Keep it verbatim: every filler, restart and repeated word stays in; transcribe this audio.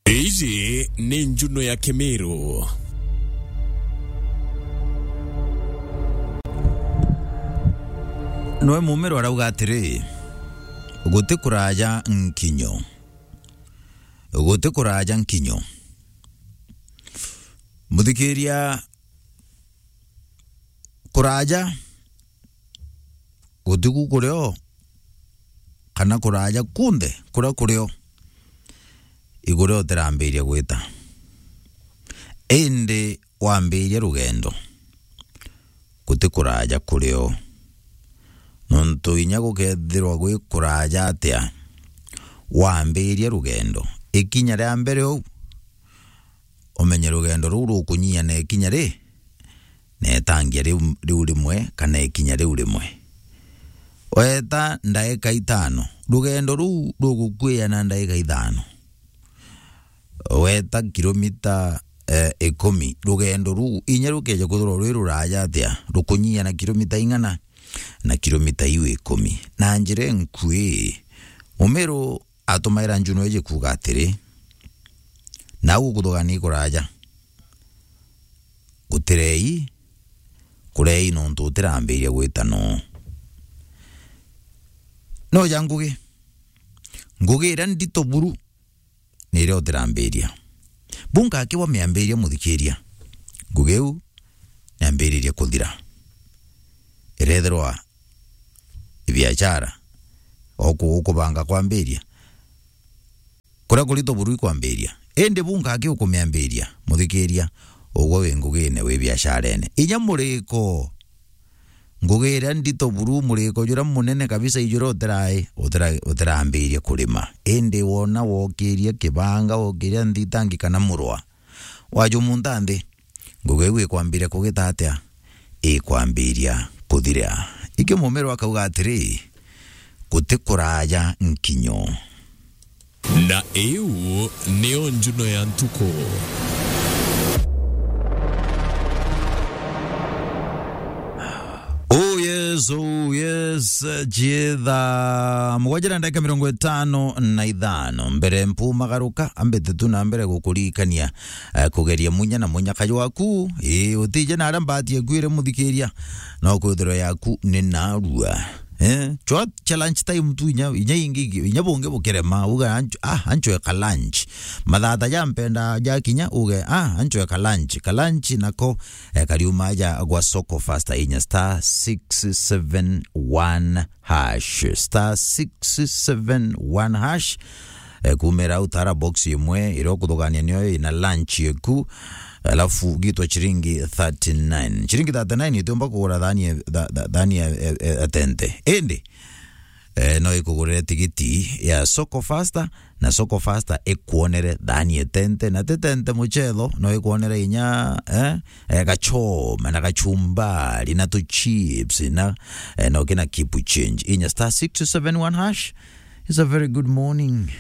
Iji ni Njuno ya Kimiru. Noe Mumiru arauga atiri, "Guti kuraja nkinyo. Guti kuraja nkinyo." Muthikiria, kuraja gutiku kurio, kana kuraja kunthe kuria kurio, igurio utirambiria gwita. Indi wambiria rugendo, guti kuraja kurio. Nontu inya gukethirwa gwi kuraja atia, wambiria rugendo, ikinya ria mbere uu, umenye rugendo ruu rukunyia na ikinya ri, na itangia riu, riu rimwe, kana ikinya riu rimwe. Weta ndaika itano, rugendo ruu rugukuia na ndaika ithano. Weta kilomita, eh, ikumi, rugendo ruu inya rukeja kwithirwa rwi ruraja atia, rukunyia na kilomita ing'ana, na kilomita iu ikumi. Na njira inkui, Mumiru atumaira Njuno iji kuuga atiri, "Nau gukuthugania kuraja, gutirei, kurei nontu utirambiria gwita noo." Noja ngugi, ngugi iria ndito buru ni iria utirambiria. Bunka akiwa miambiria, muthikiria, ngugi iu niambiririe kuthira. Irethirwa i biashara, oku-, ukubanga kwambiria, kuria kurito buru ikwambiria. Indi bunka aki ukumiambiria, muthikiria, ugwe wi ngugine, wi biasharene. Inya muriko, ngugi iria ndito buru, muriko juria munene kabisa, ijuria utirai-, utira-, utirambiria kurima. Indi wona wokiria kibanga, wokiria nthitangi kana murwa, wajumunta nthi, ngugi iu ikwambiria kugita atia? Ikwambiria kuthira. Ikio Mumiru akauga atiri, "Guti kuraja nkinyo." Na iu niyo Njuno ya ntuku. Oh yes, oh yes, ciitha mugwanja na ndagika mirongo itano na ithano. Mbere mpumagaruka, ambite tu na mbere gukuririkania, eh, kugeria munya na munyaka jwaku. Ii, utije na aria mbati ekwire muthikiria, no kwithirwa yaku ni narua. Eh, chwa cha lunch time tu inya, inya ingi, inya bungi bukirema, uga anch-, ah, anchwe ka lunch. Mathata ja mpenda ja kinya, uge, ah, anchwe ka lunch. Ka lunch nako, eh, kariuma ja gwa Soko Fasta inya star six seven one hash. Star six seven one hash. Eh, kumira au tara box imwe, iria ukuthugania niyo ina lunch yeku. Alafu gitwa chiringi thirty-nine. Chiringi thirty-nine itiumba kugura thani ya, tha-, tha-, thani ya, ya, ya tente. Indi, eh, no ikugurire tigiti ya Soko Fasta, na Soko Fasta ikwonere thani ya tente, na ti tente muchetho, no ikwonere inya, eh, eh, gachoma, na gachumbari, na tu chips, na, eh, no kina kipu change. Inya star six seven one hash. It's a very good morning.